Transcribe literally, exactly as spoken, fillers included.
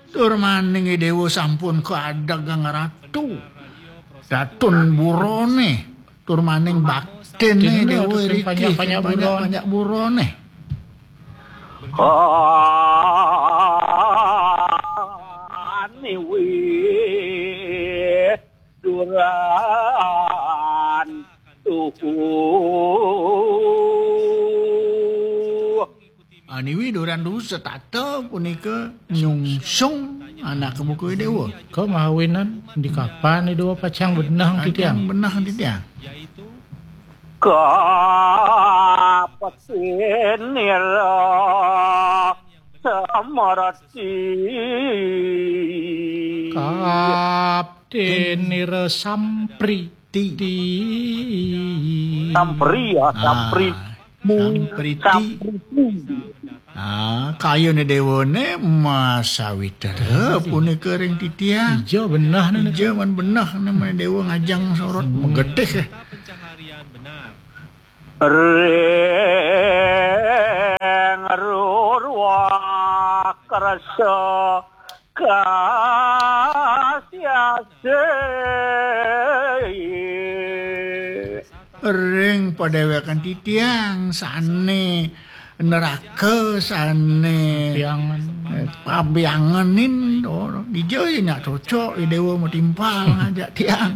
Tur maning Déwa sampun kaadeg kang ratu. Datun burane. Tur maning baktine Déwa riki panjak-panjak burane. Aniwi duran tuhu. Aniwi duran tuhu setata punika nyungsung anak buku Déwa. Ka mawinan di kapan Déwa pacang benah titiang? Benah titiang. Kapetinira samarati. Kaptenira sampriti. Sampri ya, sampri. Sampriti. Ah, kayune Déwane masawitra punika ring titiang. Ija benah ne. Ija man benah ne, man Déwa ngajeng sorot magetih. Ring ruruh kersa kasiasih. Ring padéwékan titiang sané neraka, sané pabiangenin, oh, dija ya nyak cocok, ya Déwa matimpal ngajak tiang.